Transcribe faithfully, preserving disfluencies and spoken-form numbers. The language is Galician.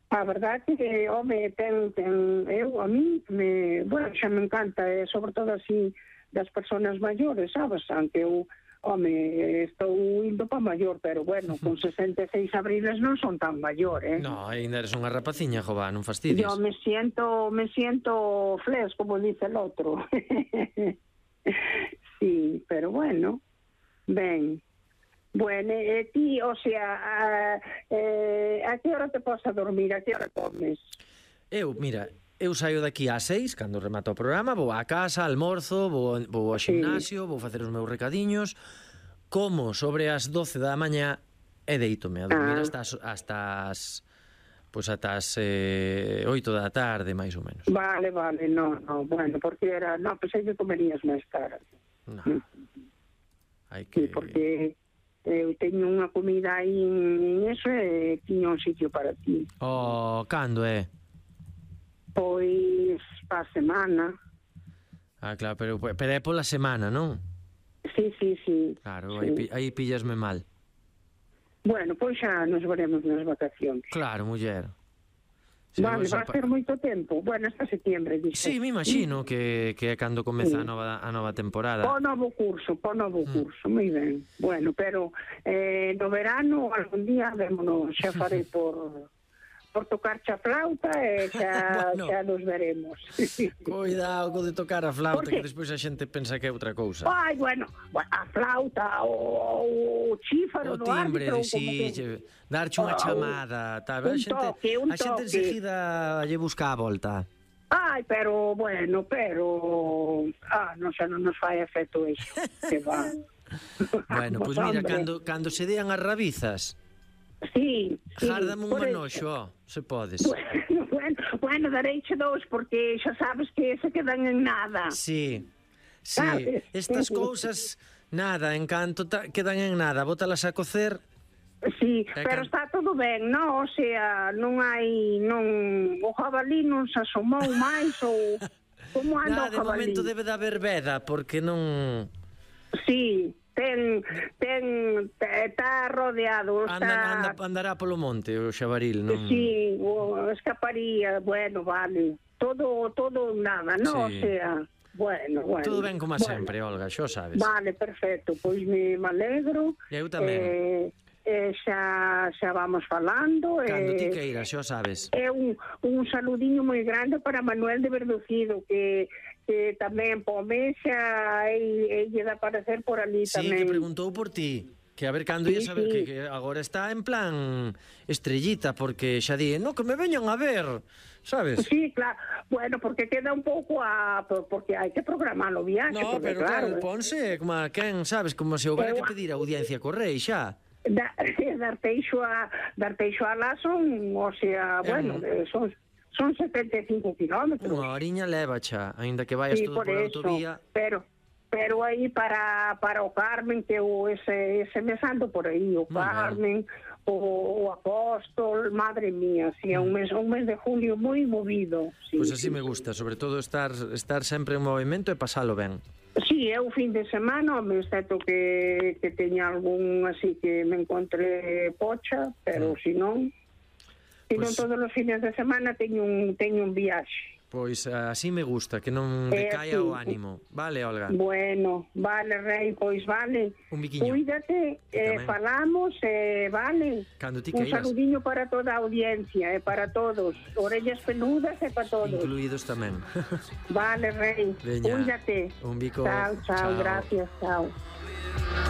A verdade que, home, ten, ten, eu, a mí, me, bueno, xa me encanta, eh, sobre todo así, das persoas maiores, sabes? Aunque eu, home, estou indo pa maior, pero bueno, con sesenta e seis abriles non son tan maior, eh? No, ainda eres unha rapaciña, jova, non fastidies. Yo me siento, me siento fles, como dice el otro. Sí, pero bueno, ben. Bueno, e ti, o sea, a, eh, a que hora te posa dormir, a que hora comes? Eu, mira, eu saio daqui ás seis, cando remato o programa, vou á casa, almorzo, vou, vou ao gimnasio, sí. Vou facer os meus recadiños, como sobre as doce da mañá e deítome a dormir ah. hasta as, hasta as pois ata as eh, oito da tarde, máis ou menos. Vale, vale, no, no, bueno, porque era, no, pensei que comerías máis tarde. No, hai que... Sí, porque... eu teño unha comida aí en eso e tiño un sitio para ti. Oh, cando é? Pois pa semana. Ah, claro, pero, pero é pola semana, non? Sí, sí, sí. Claro, sí. Aí, aí pillasme mal. Bueno, pois xa nos veremos nas vacacións. Claro, muller. Sí, vale, vai ser moito tempo. Bueno, hasta setembro, dixe. Sí, me imagino que, que é cando comeza sí. a, nova, a nova temporada. Po novo curso, po novo mm. curso, moi ben. Bueno, pero eh, no verano, algún día, vémonos, xa farei por... por tocar xa flauta e xa, bueno, xa nos veremos. Cuidado co de tocar a flauta, que despois a xente pensa que é outra cousa. Ai, bueno, a flauta, o, o chífaro, o timbre, no árbitro, sí, que... darche unha chamada, tá? Un a xente, toque, un a xente enseguida lle busca a volta. Ai, pero, bueno, pero... Ah, non xa non nos fai efecto iso, que va. Bueno, pois pues mira, cando, cando se dean as rabizas... Sí, sí. Járdame un manoxo, se podes. Bueno, bueno, bueno, dareiche dous, porque xa sabes que se quedan en nada. Sí, sí, ¿sabes? Estas cousas, nada, en canto ta, quedan en nada, bótalas a cocer. Sí, pero can... está todo ben, non? O sea, non hai, non, o jabalí non se asomou máis, ou como anda nada, o jabalí? De momento debe de haber veda, porque non... Sí, ten, ten, está rodeado, está... Anda, anda, andará polo monte o xabaril, non? Sí, o escaparía, bueno, vale, todo, todo nada, non? Sí. O sea, bueno, bueno. Todo ben como bueno. sempre, Olga, xo sabes. Vale, perfecto, pois me alegro. Eu tamén. Eh, eh, xa, xa vamos falando. Cando eh, ti queiras, xo sabes. É un, un saludiño moi grande para Manuel de Verducido, que... que tamén pome xa e lle dá aparecer por ali sí, tamén. Sí, que preguntou por ti, que a ver cando ia sí, saber sí. que, que agora está en plan estrellita, porque xa di, no, que me veñan a ver, sabes? Sí, claro, bueno, porque queda un pouco a... porque hai que programar o viaxe. No, porque, pero claro, claro, ponse como a quen, sabes, como se houbera que pedir audiencia correi xa. Da, Darteixo a Darteixo a lá son, o sea, bueno, um... son... Son setenta e cinco kilómetros. Unha horiña leva xa, aínda que vayas sí, todo por, por autovía. Pero pero aí para para o Carmen, que o ese ese mes ando por aí, o muy Carmen, o, o Apóstol, madre mía, si sí, é un mes un mes de julio moi movido. Sí, pois pues así sí, me gusta, sobre todo estar estar sempre en movimento e pasalo ben. Sí, é o fin de semana, me excepto que que teña algún así que me encontré pocha, pero mm. si non Se non pues, todos os fines de semana teño un, teño un viaxe. Pois así me gusta, que non decaia eh, sí. o ánimo. Vale, Olga? Bueno, vale, Rei, pois vale. Un biquiño. Cuídate, eh, falamos, eh, vale. Cando ti un queiras. Saludiño para toda a audiencia, e eh, para todos. Orellas peludas e para todos. Incluídos tamén. Vale, Rei. Veña. Cuídate. Un bico. Chao, chao, chao. Gracias, chao.